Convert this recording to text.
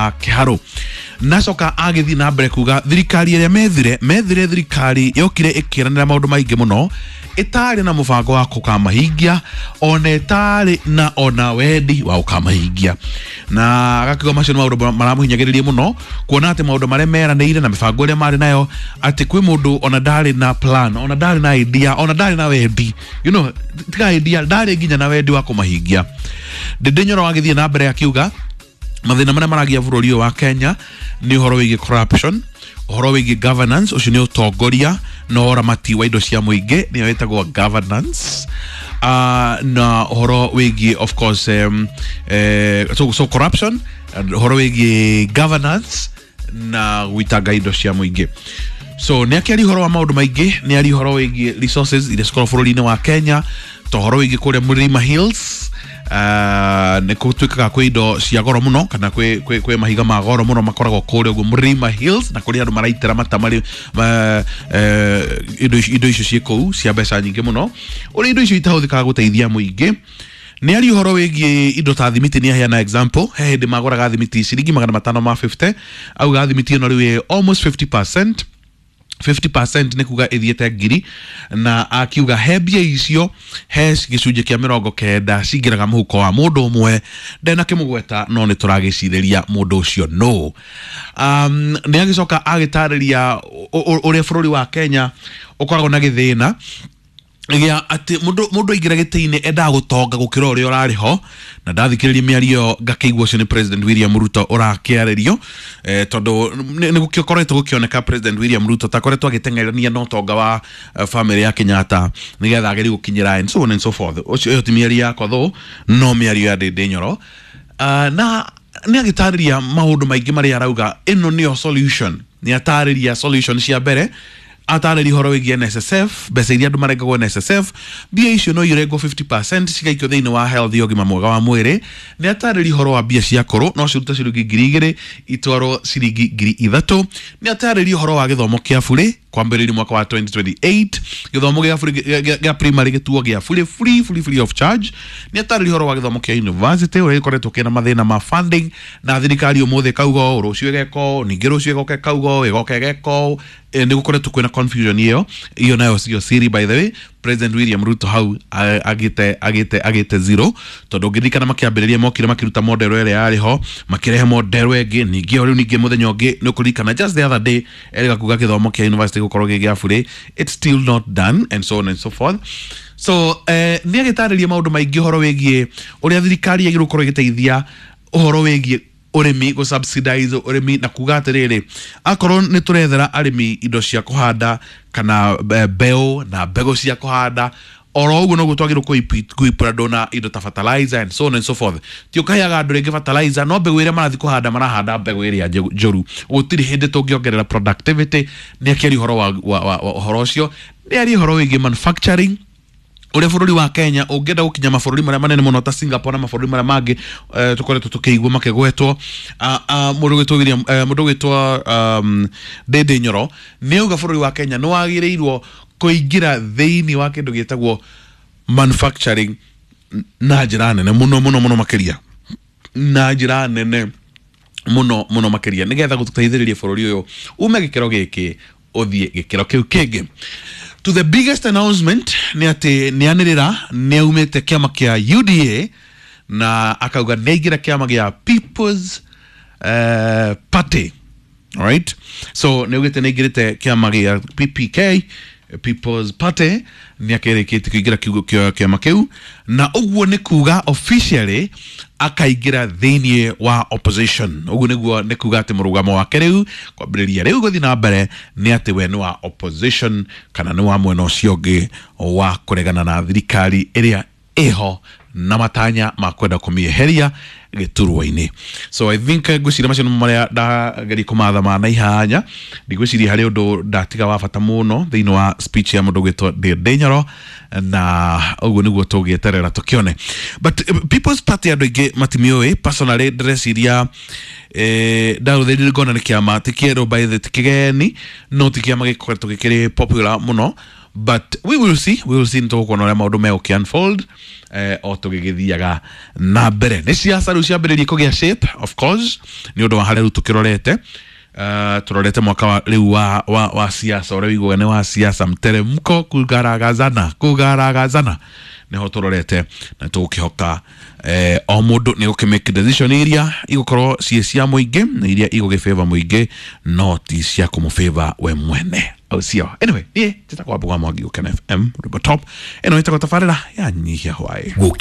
wa Kiharu. Nacoka agĩthiĩ na mbere kuga thirikari ĩrĩa methire thirikari yokire ĩkĩranĩra maũndũ maingĩ mũno, ĩtarĩ na mũbango wa kũkamahingia, ona ĩtarĩ na ona wendi wa gũkamahingia. Na agakiuga macio nĩ maũndũ maramũhinyagĩrĩria mũno, kuona atĩ maũndũ marĩa meranĩire na mĩbango ĩrĩa marĩ nayo, atĩ kwĩ mũndũ ona ndarĩ na plan, ona ndarĩ na idea, ona ndarĩ na wendi, tiga idea, ndarĩ nginya na wendi wa kũmahingia. Ndindi Nyoro agĩthiĩ na mbere akiuga mathĩna marĩa maragia bũrũri ũyũ wa Kenya nĩ ũhoro wĩgiĩ corruption, ũhoro wĩgiĩ governance, ũcio nĩ ũtongoria na ũramati wa indo cia mũingĩ, nĩyo ĩtagwo governance, na ũhoro wĩgiĩ of course, so corruption, ũhoro wĩgiĩ governance na gwitanga indo cia mũingĩ. So nĩ akĩaria ũhoro wa maũndũ maingĩ, nĩ aria ũhoro wĩgiĩ resources iria cikoragwo bũrũri-inĩ wa Kenya, ta ũhoro wĩgiĩ kũrĩa Mlima Hills, nĩ gũtuĩkaga kwĩ indo cia goro mũno, kana kwĩ mahiga ma goro mũno makoragwo kũrĩa ũguo Mlima Hills, na kũrĩa andũ maraitĩra mata marĩ, indo icio ciĩ kũu cia mbeca nyingĩ mũno, ũrĩa indo icio itahũthĩkaga gũteithia mũingĩ. Nĩ aria ũhoro wĩgiĩ indo ta thimiti, nĩ aheana example, he hĩndĩ magũraga thimiti ciringi magana matano ma 50, auga thimiti ĩno rĩu ĩ almost 50%. 50% nĩ kuga ĩthiĩte ngiri, na akiuga he mbia icio he gĩcunjĩ kĩa 90 cingĩraga mũhuko wa mũndũ ũmwe, ndenakĩmũgweta no nĩ tũragĩcirĩria mũndũ ũcio no. Nĩ agĩcoka agĩtarĩria ũrĩa bũrũri wa Kenya ũkoragwo na gĩthĩna gĩa atĩ mũndũ aingĩra gĩtĩ-inĩ endaga gũtonga gũkĩra ũrĩa ũrarĩ ho, na ndathikĩrĩria mĩario ngakĩigua ũcio nĩ President William Ruto ũrakĩarĩrio, tondũ nĩ gũkoretwo gũkĩoneka President William Ruto takoretwo agĩteng'erania na ũtonga wa family ya Kenyatta nĩgetha agerie gũkinyĩra and so on and so forth. Ũcio ĩyo ti mĩario yakwa though, no mĩario ya Ndindi Nyoro. Na nĩ agĩtarĩria maũndũ maingĩ marĩa arauga ĩno nĩyo solution. Nĩ atarĩria solution cia mbere, atarĩria ũhoro wĩgiĩ NSSF, mbeca iria andũ marengagwo NSSF, mbia icio no irengwo 50% cigaikio thĩinĩ wa health ya ũgima mwega wa mwĩrĩ. Nĩ atarĩria ũhoro wa mbia cia kũrũ, no cirute ciringi 2,000 itwarwo ciringi 3,000. Nĩ atarĩria ũhoro wa gĩthomo kĩa burĩ kwambĩrĩria mwaka wa 2028, gĩthomo gĩa burĩ gĩa primary gĩtuo gĩa burĩ free, free, free of charge. Nĩ atarĩria ũhoro wa gĩthomo kĩa university ũrĩa gĩkoretwo kĩna mathĩna ma funding, na thirikari ũmũthĩ ĩkauga ũũ, rũciũ ĩgeka ũũ, ningĩ rũciũ ĩgoka ĩkauga ũũ, ĩgoka ĩgeka ũũ. Nĩ gũkoretwo kwĩna confusion ĩyo, iyo nayo sio siri by the way. President William Ruto hau agĩte zero, tondũ ũngĩririkana makĩambĩrĩria mokire makĩruta model ĩrĩa yarĩ ho, makĩrehe model ĩngĩ, ningĩ o rĩu ningĩ mũthenya ũngĩ nĩ ũkũririkana just the other day erĩga kuga gĩthomo kĩa university gũkorwo gĩ gĩa burĩ, it's still not done and so on and so forth. So nĩ agĩtarĩria maũndũ maingĩ ũhoro wĩgiĩ ũrĩa thirikari yagĩrĩirwo gũkorwo ĩgĩteithia ũhoro wĩgiĩ ũrĩmi, gũ subsidize ũrĩmi, na kuga atĩrĩrĩ, akorwo nĩ tũrethera arĩmi indo cia kũhanda kana mbeũ na mbegũ cia kũhanda, oro ũguo noguo twagĩrĩirwo kũipũra andũ na indo ta fertilizer and so on and so forth. Ti ũkaheaga andũ rĩngĩ fertilizer, no mbegũ ĩrĩa marathiĩ kũhanda marahanda mbegũ ĩrĩa njũru. Gũtirĩ hĩndĩ tũngĩongerera productivity. Nĩ akĩaria ũhoro wa ũhoro ũcio, nĩ aria ũhoro wĩgiĩ manufacturing, ũrĩa bũrũri wa Kenya ũngĩenda gũkinya mabũrũri marĩa manene mũno ta Singapore na mabũrũri marĩa mangĩ, tũkoretwo tũkĩigua makĩgwetwo. Mũndũ ũgwĩtwo William, mũndũ ũgwĩtwo, Ndindi Nyoro nĩ auga bũrũri wa Kenya nĩ wagĩrĩirwo kũingĩra thĩinĩ wa kĩndũ gĩtagwo manufacturing na njĩra nene mũno mũno mũno makĩria, na njĩra nene mũno mũno makĩria, nĩgetha gũteithĩrĩria bũrũri ũyũ ume gĩkĩro gĩkĩ ũthiĩ gĩkĩro kĩu kĩngĩ. To the biggest announcement nĩ atĩ nĩ anĩrĩra nĩ aumĩte kĩama kĩa UDA na akauga nĩ aingĩra kĩama gĩa People's Party. Alright? So nĩ augĩte nĩ aingĩrĩte kĩama gĩa PPK, People's Party, nĩ akĩrĩkĩtie kũingĩra kĩama kĩu, na ũguo nĩ kuga officially akaingĩra thĩinĩ wa opposition. Ũguo nĩguo nĩ kuga atĩ mũrũgamo wake rĩu kwambĩrĩria rĩu gũthiĩ na mbere nĩ atĩ we nĩ wa opposition kana nĩ wa mwena ũcio ũngĩ wa kũregana na thirikari ĩrĩa ĩho na matanya ma kwenda kũmĩeheria gĩturwa-inĩ. So I think ngwĩciria macio nĩmo marĩa ndageria kũmatha na ihanya. Ndigwĩciria harĩ ũndũ ndatiga wa bata mũno thĩinĩ wa speech ya mũndũ ũgwĩtwo Ndindi Nyoro, na ũguo nĩguo tũgĩeterera tũkĩone. But People's Party andũ aingĩ matimĩũĩ. Personally ndĩreciria, ndaũthĩrire ngona nĩ kĩama ti kĩerũ by the, ti kĩgeni, no ti kĩama gĩkoretwo gĩkĩrĩ popular mũno, But we will see, we will see, nĩ tũgũkuona ũrĩa maũndũ megũkĩ unfold o tũgĩgĩthiaga na mbere. Nĩ ciaca rĩu ciambĩrĩrie kũgĩa shape, of course, nĩ ũndũ wa harĩa rĩu tũkĩrorete. Turorete mwaka wa rĩu wa siasa, ũrĩa wĩiguaga nĩ wa siasa, mteremko, kugaragazana kugaragazana, nĩho tũrorete, na tũgũkĩhoka o mũndũ nĩ gũkĩ decision iria igũkorwo ciĩ cia mũingĩ na iria igũgĩ mũingĩ, no ti cia kũmũ we mwene, au sio? Anyway, niĩ njĩtagwo Wambũgũ wa Mwangi, Gũkena FM, Rwĩmbo Top. Ĩno ĩtagwo tabarĩra ya Nyihia Hwaĩ. Gũkena.